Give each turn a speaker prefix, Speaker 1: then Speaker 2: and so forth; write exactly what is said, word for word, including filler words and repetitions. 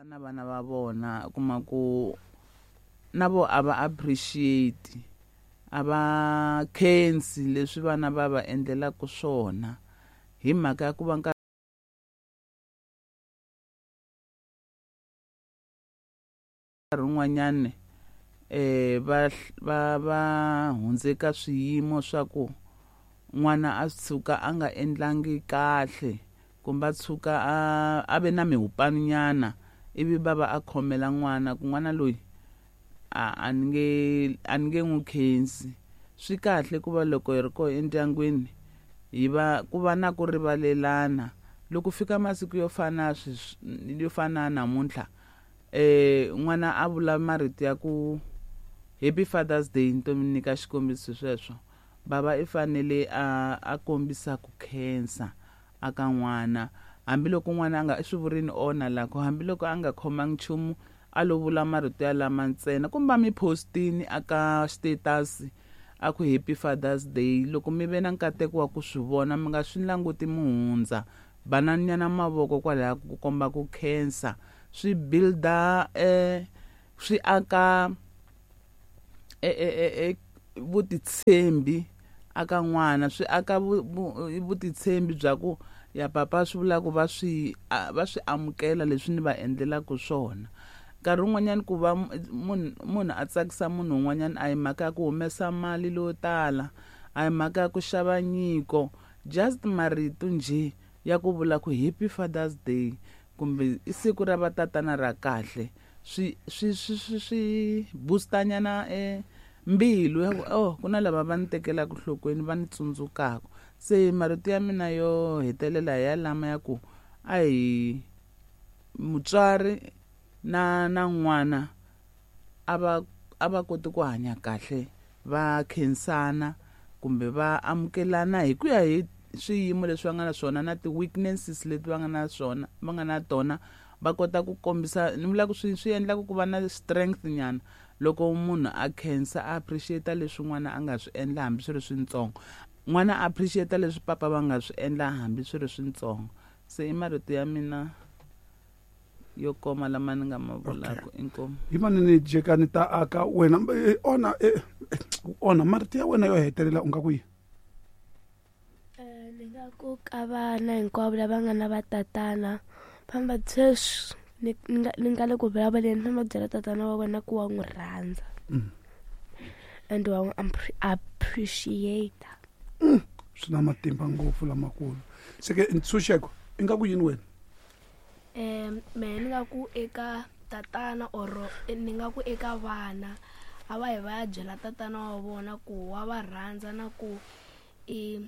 Speaker 1: Na vana va vona u kuma ku na vo a va appreciate a va khensi leswi vana va va endlelaka swona hi mhaka ya ku va nkarhi wun'wanyani um va va va hundze ka swiyimo swa ku n'wana a tshuka a nga endlangi kahle kumbe a tshuka a a ve na mihupano nyana ivi va va a khomela n'wana ku n'wana loyi a a ni nge a ni nge n'wi khensi. Swi kahle ku va loko hi ri koho endyangwini hi va ku va na ku rivalelana loko fika masiku yo fana sweswi yo fana na namuntlha um n'wana a vula marito ya ku happy father's day ni to mi nyika xikombiso sweswo bava i fanele a a kombisa ku khensa aka n'wana hambiloko n'wana a nga i swi vurini ona la ku hambiloko a nga khomangi nchumu a lo vula marito ya lama ntsena kumbe a mi postini aka status a ku happy father's day loko mi ve na nkateko wa ku swi vona mi nga swi languti mi hundza banani nyana mavoko kwalaya ku komba ku khensa swi builda eh swi aka e e e vutitshembi aka n'wana swi aka vutitshembi bya ku ya papa swi vula ku va swi va swi amukela leswi ni va endlelaka swona. Nkarhi wun'wanyani ku va munhu munhu a tsakisa munhu un'wanyana a hi mhaka ya ku humesa mali leyo tala a hi mhaka ya ku xava nyiko just marito njhe ya ku vula ku happy father's day kumbe i siku ra vatatana ra kahle swi swi swi swi swi booster nyana e mbilu ya ku oh ku na lava va ni tekelaka nhlokweni va ni tsundzukaka. Se marito ya mina yo hetelela hi ya lama ya ku a hi mutswari na na n'wana a va a va koti ku hanya kahle va khensana kumbe va amukelana hi ku ya hi swiyimo leswi va nga na swona na ti-weaknesses leti va nga na swona va nga na tona va kota ku kombisa ni vula ku swi swi endlaka ku va na strength nyana loko munhu a khensa a appreciate leswi n'wana a nga swi endla hambi swi ri swintsongo n'wana a appreciate leswi papa va nga swi endla hambi swi ri swintsongo. Se i marito ya mina yo koma lama ni nga ma vulaka. Inkomu
Speaker 2: hi manene jekani ta aka wena ona ona marito ya wena yo hetelela u nga ku yini?
Speaker 3: Ni nga ku ka vana hinkwavo lava nga na vatatana famba sweswi ni nga ni nga le ku vulavuleni famba byela tatana wa wena ku wa n'wi rhandza and wa n'wi appreciate.
Speaker 2: Swi na matimba ngopfu lamakulu. Se ke ntshunxeko i nga ku yini wena?
Speaker 4: Um mehe ni nga ku eka tatana or ni nga ku eka vana a va yi va ya byela tatana wa vona ku wa va rhandza na ku i